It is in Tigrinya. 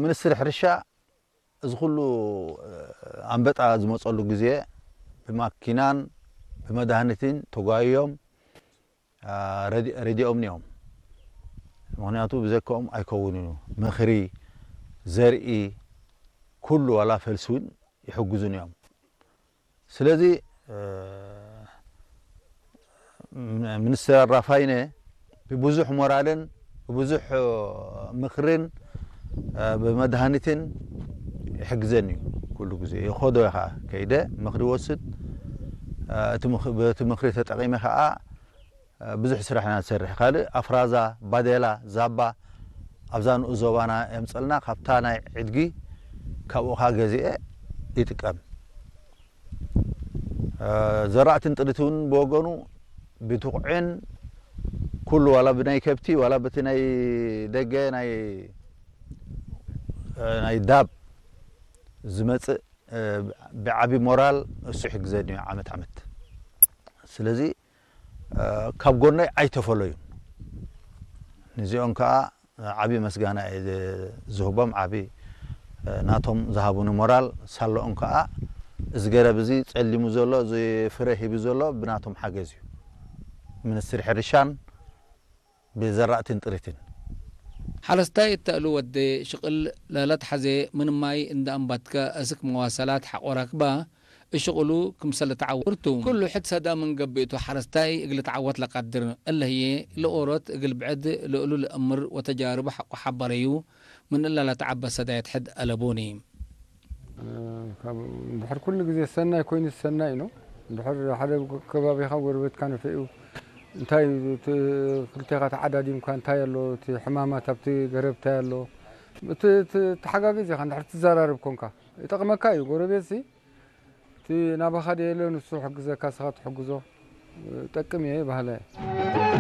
ሚኒስትሪ ሕርሻ እዚ ኩሉ ኣንበጣ ዝመፀሉ ግዜ ብማኪናን ብመድሃኒትን ተጓይዮም ረዲኦም እዮም። ምክንያቱ ብዘከኦም ኣይከውንን እዩ። ምክሪ፣ ዘርኢ፣ ኩሉ ዋላ ፈልሲ እውን ይሕግዙን እዮም። ስለዚ ሚኒስትር ኣራፋይነ ብብዙሕ ሞራልን ብብዙሕ ምክርን ብመድሃኒትን ይሕግዘኒ እዩ። ኩሉ ግዜ ይኸዶ እየ ከዓ ከይደ ምክሪ ወስድ። በቲ ምክሪ ተጠቒመ ከዓ ብዙሕ ስራሕ ኢና ንሰርሕ። ካልእ ኣፍራዛ፣ ባዴላ፣ ዛባ ኣብዛ ንኡስ ዞባና የምፀልና። ካብታ ናይ ዕድጊ ካብኡ ከዓ ገዚኤ ይጥቀም። ዘራእትን ጥሪት እውን ብወገኑ ብትኩዕን ኩሉ ዋላ ብናይ ከብቲ ዋላ በቲ ናይ ደገ ናይ ናይ ዳብ ዝመፅእ ብዓቢ ሞራል እሱ ይሕግዘኒ እዩ ዓመት ዓመት። ስለዚ ካብ ጎነይ ኣይተፈለዩን። ንዚኦም ከዓ ዓቢ መስጋና እየ ዝህቦም። ዓቢ ናቶም ዝሃቡኒ ሞራል ሳለኦም ከዓ እዚ ገረብ እዚ ጸሊሙ ዘሎ፣ እዚ ፍረ ሂቡ ዘሎ ብናቶም ሓገዝ እዩ። ሚኒስትሪ ሕርሻን ብዘራእትን ጥሪትን። ሓረስታይ እተእሉ ወደ ሽቕል ለለት ሓዜ ምን ማይ እንደ ኣንባትከ እስክ መዋሰላት ሓቆራክባ እሽቕሉ ክምሰለ ተዓወርቱ። ኩሉ ሕድ ሰዳ ምን ገብእቱ ሓረስታይ እግል ተዓወት ለቃድር እለ ህዬ ለኦሮት እግል ብዕድ ልእሉ ለእምር ወተጃርቡ ሓቆ ሓበረዩ ምን እላ ለተዓበ ሰዳየት ሕድ አለቦኒ። እንድሕር ኩሉ ግዜ ሰናይ ኮይኑ ሰናይ ነው። እንድሕር ሓደ ከባቢኻ ጎረቤትካ ንፍዒኡ እንታይ ክልቴኻ ተዓዳዲምካ እንታይ ኣሎ እቲ ሕማማት ኣብቲ ገረብ እንታይ ኣሎ እቲ ተሓጋጊዝ ኢኻ እንድሕር ትዘራረብ ኮንካ ይጠቕመካ እዩ። ጎረቤት ሲ እቲ ናባኻ ደየለ ንሱ ሕግዘካ ስኻ ትሕግዞ ጠቅም እየ ባህላ እየ።